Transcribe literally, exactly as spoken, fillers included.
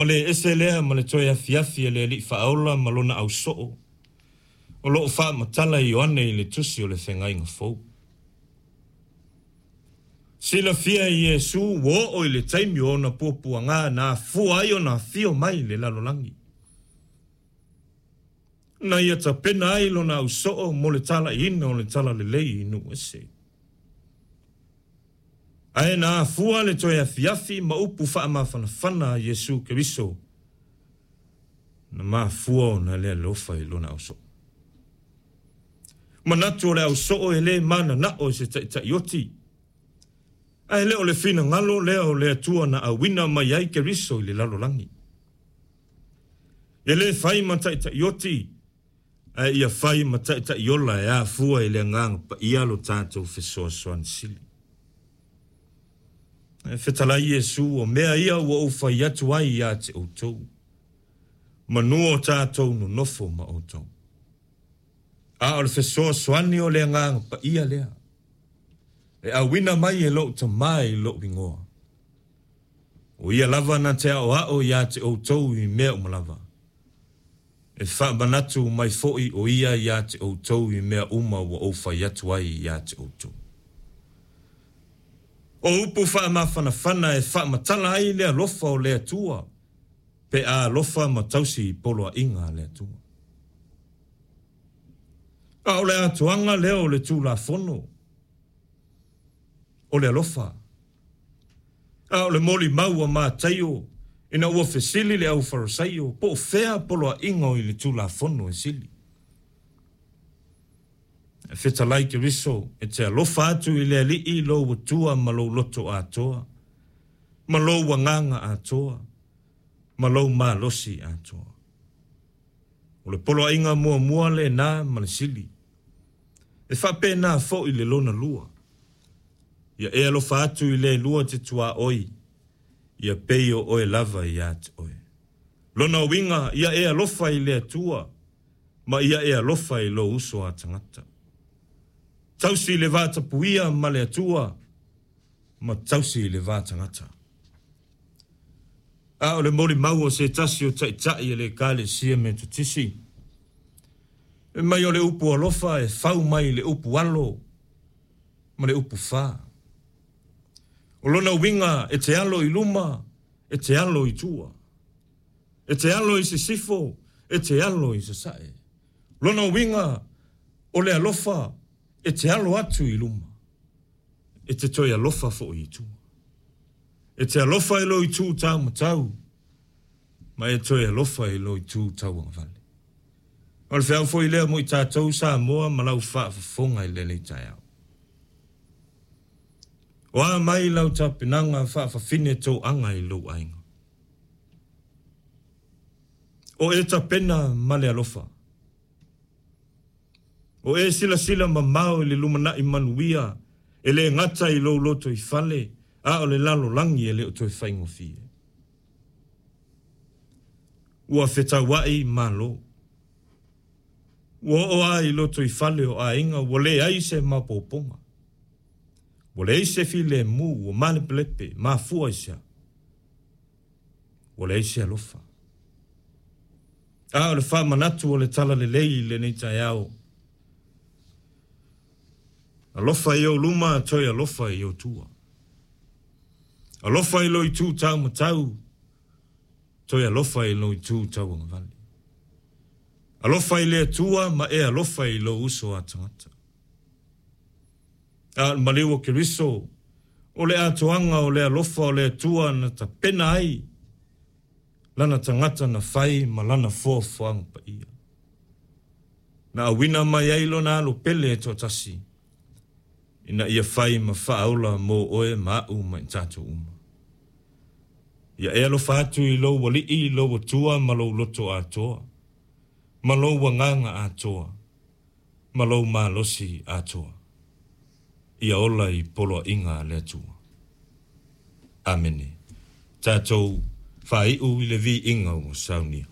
O le ese lea ma le toe afiafi e le Alii Faaola ma lona ausoo, o loo faamatala e Ioane i le tusi o le Feagaiga Fou. Silafia e Iesu ua oo i le taimi o ona puapuaga na afua ai ona afio mai i le lalolagi, na ia tapena ai lona ausoo mo le talaiina o le talalelei i nuu ese. Ae na afua le toe afiafi ma upu faamafanafana a Iesu Keriso, na mafua ona le alofa i lona ausoo. Manatu o le ausoo e le mananao e se taitaioti, ae le o le finagalo lea o le Atua na auina mai ai Keriso i le lalolagi. E le fai ma taitaioti, ae ia fai ma taitaiola e afua i le agaga paia lo tatou fesoasoani sili. E fetalai Iesu, o mea ia ua ou fai atu ai ia te outou, manua o tatou nonofo ma outou. A o le fesoasoani o le agaga paia lea, e auina mai e lou Tamā i lou igoa. O ia lava na te aoao ia te outou i mea uma lava. E faamanatu mai foi o ia ia te outou i mea uma ua ou fai atu ai ia te outou. O upu faamafanafana e faamatala ai le alofa o le Atua, pe a alofa ma tausi i poloaiga a le Atua. A o le atoaga lea o le Tulafono, o le alofa. A o le molimau a Mataio, ina ua fesili le au Farisaio, po o fea poloaiga o i le Tulafono e sili. E fetalai Keriso, e te alofa atu i le Alii lou Atua ma lou loto atoa, ma lou agaga atoa, ma lou malosi atoa. O le poloaiga muamua lena ma le sili. E faapena foi le lona lua. Ia e alofa atu i le lua te tuaoi, ia pei o oe lava ia te oe. Lona uiga, ia e alofa i le Atua, ma ia e alofa i lou uso a tagata. Tausi le vatapuia ma le Atua, ma tausi le va tagata. A o le molimau o se tasi o taitai e le Ekalesia Metotisi, e mai o le upu alofa e fau mai le upu alo ma le upu fa. O lona uiga e te alo i luma, e te alo i tua. E te alo i sisifo, e te alo i sasae. Lona uiga o le alofa e te alo atu i luma, e te toe alofa foi i tua. E te alofa i lou itu taumatau, ma e toe alofa i lou itu tauagavale. O le feau foi lea mo i tatou Samoa ma lau faafofoga i lenei taeao. O a mai lau tapenaga faafafine toaga i lou aiga. O e tapena ma le alofa. O e silasila mamao i le lumanai manuia, e le gata i lou lotoifale, a o le lalolagi e le o toe faigofie. Ua fetauai malo. Ua oo lava i lotoifale o aiga, ua leai se maopoopoga. Ua leai se filemu, ua malepelepe, mafua i se a? Ua leai se alofa. A o le faamanatu o le talalelei i lenei taeao, alofa i ou luma, toe alofa i ou tua. Alofa i lou itu taumatau, toe alofa i lou itu tauagavale. Alofa i le Atua ma e alofa i lou uso a tagata. A o le maliu o Keriso, o le atoaga o le alofa o le Atua na tapena ai lana tagata na fai ma lana foafoaga paia. Na auina mai ai lona alo pele e toatasi, ina ia fai ma faaola mo oe ma au ma i tatou uma. Ia e alofa atu i lou Alii, lou Atua ma lou loto atoa, ma lou agaga atoa, ma lou malosi atoa. Ia ola i poloaiga a le Atua. Amene. Tatou faaiu i le viiga ua saunia.